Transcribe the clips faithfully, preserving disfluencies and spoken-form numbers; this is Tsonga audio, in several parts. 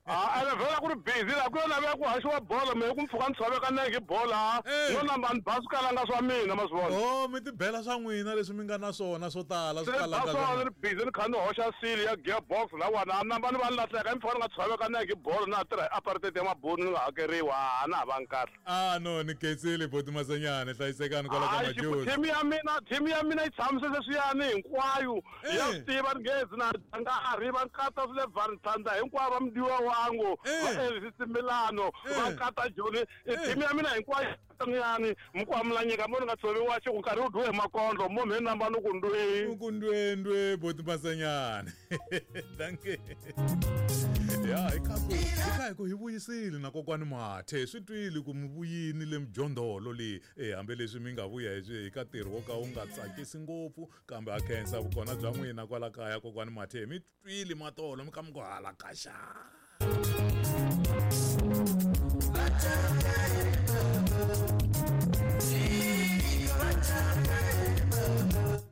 Ah, ene vhela ku ri busy la ku yo laveka ku haxiwa bolo mehe ku mpfhuka ni tshoveka nenge hi bolo no namba ni ba swikalanga swa mina ma swi vona. Oh, mi tibela swa n'wina leswi mi nga na swona swo tala swikalanga. Swona ni ri busy ni kha ni hoxa sili ya gearbox lawani a namba ni va ni lahleka hi mpfhuka ni nga tshoveka nenge hi bolo na ha tirha hi apartheid ya mabunu ni nga hakeriwa a na ha vangi kahle. Ah no, ni khensile boti Masenyane, hlayisekani kwala ka Majozi. Team ya mina, team ya mina yi tshamise leswiyani hinkwayo. Ya swi tiva ni ngezi na nkarhi va nkata swi le Valentine hinkwavo va mdiwa wangu va Elvis Milano va nkata Joni team ya mina hinkwayo yani mkwamulanyika mo ni nga tshoviwa xi ku nkarhi wu dyiwe hi makondlo mo mhe namba ni ku ndwe ku ndwe ndwe boti Masenyane. Thank you. Ya hi kha ku hi kha hi ku hi vuyisile na kokwani Mathe swi twile ku mi vuyini le mjondolo leyi eh hambileswi mi nga vuya hi ka ntirho wo ka wu nga tsakisi ngopfu kambe a khensa vukona bya n'wina kwala kaya kokwani Mathe mi twile matolo mi kha mi ku hala kaxa.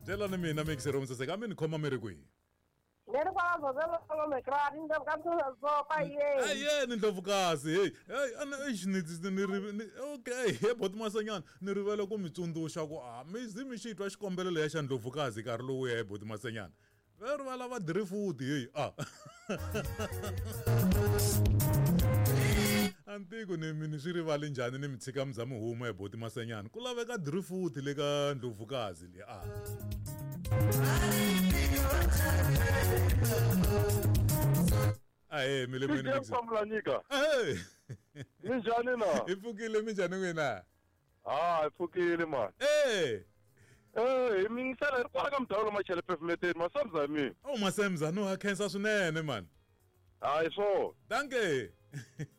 Byelani mina mixer saseka mi ni khoma mi ri kwihi? Ayeni Ndlovukazi, hey hey ana eish ni ni okay he boti Masenyane ni rivele ku mi tsundzuxa ku a mi zi mi xi twa xikombelo leya xa Ndlovukazi nkarhi lowu ya he boti Masenyane va ri va lava driftwood hey a antiko ni mi ni swi rivali njhani ni mi tshika mi za mi huma he boti Masenyane ku laveka driftwood le ka Ndlovukazi le a ahe mi le mwini mixer. Eh minjhani na? Hi pfukile minjhani n'wina? Ah, hi pfukile man. Eh Eh, hi mingisela hi ri kwala ka mudawulo Machele Pavement Masemza hi mina. Oh Masemza no ha khensa swinene man. Hayi swo. Danke.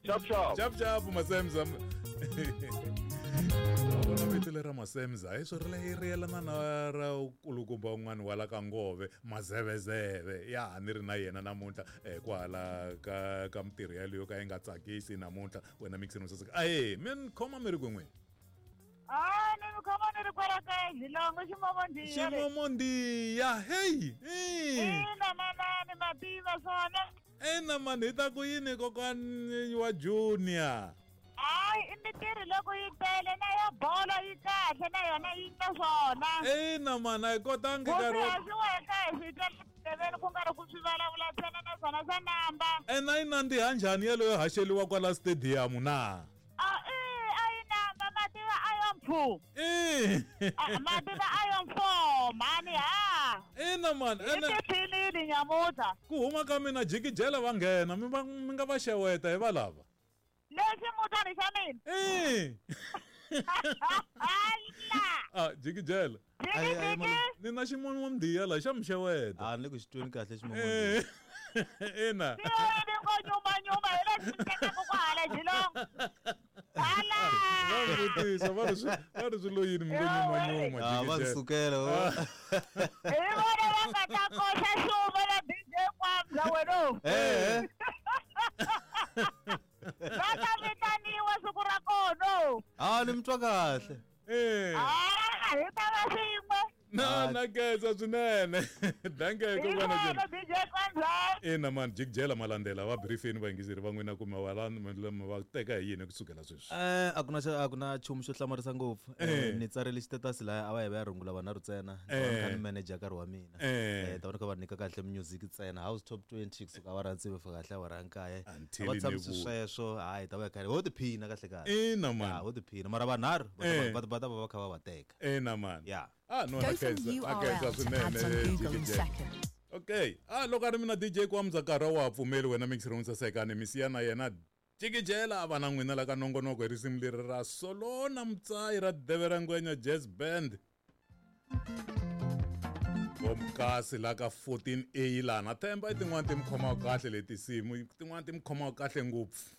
Chap chap. Chap chap Masemza. Vona vito lera Masemza hi swo ri ri yelana na ra kulukumba un'wana wa la ka Ngove Mazevezeve ya ni ri na yena namuntlha eh kwala ka ka mitirho yaleyo ka yi nga tsakisi namuntlha wena mixer saseka ahe mi ni khoma mi ri kwin'wini. Ah, ni mi khoma ni ri kwala ka Xilongo Ximomondiya. Ximomondiya hey. Ina manani mativa swona. Ina mani hi ta ku yini kokwani wa Junior? Hayi i mitirho loko yi tele na ya bolo yi kahle na yona yi na swona. Ina mani a hi kotangi nkarhi wa haxiweka hi swi twa tindleveni ku nga ri ku swi vulavula ntsena na swona swa namba. Ena yi nandziha njhani yeleyo haxeliwa kwala stadium na? A i a yi namba mativa a yo mpfu. I mativa a yo mpfo mhani ha. Ina mani i tiphinile nyamuntlha. Ku huma ka mina jikijela va nghena mi va mi nga va xeweta hi va lava. Lexi mutani xa mina. Eh. Ah, jikijela. Ni na ximomondiya la xa mi xeweta. Ah, ni le ku xi tweni kahle ximomondiya. Ina. Ni ngo nyuma nyuma hi le xi tekaka ku hala Xilongo. Hala. Va vutisa va ri swi va ri swi lo yini mi ngo nyuma nyuma jikijela. Ah, va sukela. Hi vona va nga ta koxa xuva na D J Kwamza wena. Eh. Va ta vitaniwa siku ra kona. Ah, ni mi twa kahle. Eh. Ah, hi ta va swin'we. Na na khensa swinene. Danke kokwana Junior. D J Kwamza. Ina man jikijela malandela va briefini vayingiseri va n'wina kumbe va va teka hi yini kusukela sweswi. Eh, a ku na a ku na nchumu xo hlamarisa ngopfu. Ni tsarile xitetasi laya a va hi va ya rungula vanharhu ntsena. Ni kha ni manager nkarhi wa mina. Eh, ta va ni kha va nyika kahle music ntsena. House top twenty kusuka awara ya tsevu fika kahle awara ya nkaye. Va tshamisa sweswo, hayi ta va hi kha ho tiphina kahle kahle. Ina man. Ho tiphina mara vanharhu va va ta va va kha va va teka. Ina man. Yeah. Ah no Go from U R L to ads on Google in seconds. Okay. Ah loko a ri mina D J Kwamza nkarhi wa pfumeli wena mixer saseka ni misiya na yena jikijela a va na n'wina la ka nongonoko hi risimu leri ra Solona Mtsayi ra Devera Ngwenya Jazz Band. Vomkasi la ka fourteen A lana themba i tin'wana ti mi khomaka kahle leti tinsimu tin'wana ti mi khomaka kahle ngopfu.